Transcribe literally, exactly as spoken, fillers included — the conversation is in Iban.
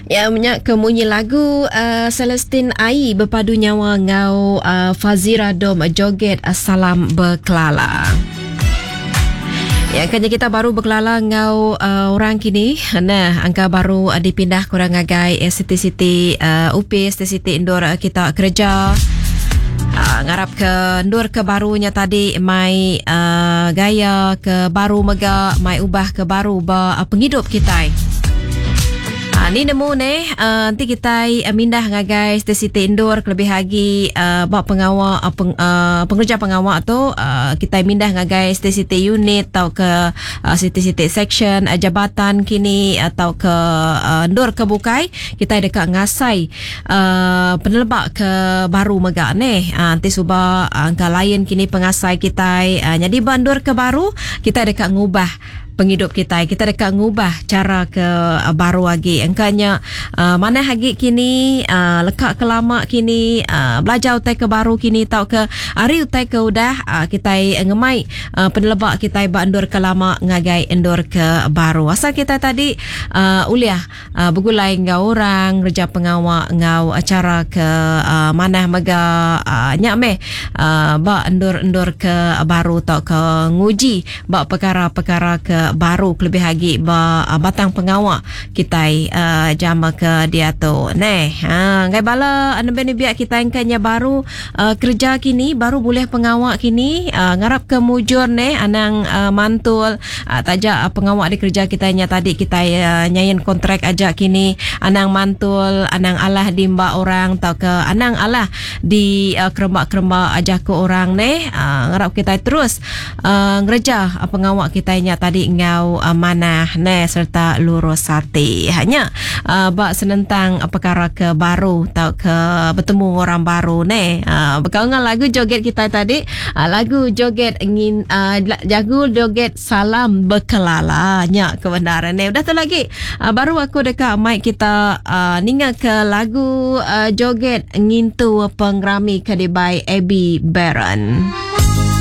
Ya menyak ke munyi lagu uh, Celestine Ai berpadu nyawa ngau uh, Fazira Dom joget uh, Salam Berkelala. Ya, kanya kita baru berkelala ngau uh, orang kini. Nah, angka baru uh, dipindah kurang ngagai uh, city-city uh, U P, city-city indoor uh, kita kerja. Uh, ngarap ke ndur ke barunya tadi mai uh, gaya ke baru mega mai ubah ke baru ba uh, penghidup kita. Ha, ni nemu ni uh, nanti kita uh, mindah ngagai city indoor kelebih lagi uh, bak pengawak uh, peng, uh, pengerja pengawak tu uh, kita mindah ngagai city unit atau ke uh, city-city section uh, jabatan kini atau ke uh, ndur ke bukai kita dekat ngasai uh, penelebak ke baru megak ni uh, nanti suba angka uh, lain kini pengasai kita uh, jadi bandur ke baru kita dekat ngubah penghidup kita. Kita dekat ngubah cara ke uh, baru lagi. Engkanya uh, mana lagi kini uh, lekak ke lama kini uh, belajar utai ke baru kini tau ke hari utai ke udah uh, kita ngemai uh, penelebak kita ba endur ke lama ngagai endur ke baru. Asal kita tadi uh, uliah uh, bergulai ngau orang kerja pengawak ngau acara ke uh, manah mega uh, nyak meh uh, ba endur-endur ke baru tau ke nguji ba perkara-perkara ke baru kelebih lagi ba uh, batang pengawak kita uh, jama ke dia tu. Neh, ha ngai bala anu ben biak kita engkanya baru uh, kerja kini baru boleh pengawak kini uh, ngarap ke mujur neh anang uh, mantul uh, tajak uh, pengawak di kerja kita nya tadi kita uh, nyain kontrak aja kini anang mantul anang alah di mbak orang atau ke anang alah di uh, keremak-keremak aja ke orang neh uh, ngarap kita terus uh, ngereja uh, pengawak kita nya tadi ngau uh, manah ne serta lurus hati. Hanya uh, bak senentang uh, perkara ke baru atau ke bertemu orang baru ne. Uh, berkawan lagu joget kita tadi, uh, lagu joget ingin uh, jago joget Salam Berkelala nya kebenaran ne. Udah tu lagi uh, baru aku dekat mic kita uh, ninga ke lagu uh, joget ngintu pengrami ke dibai Abby Baron.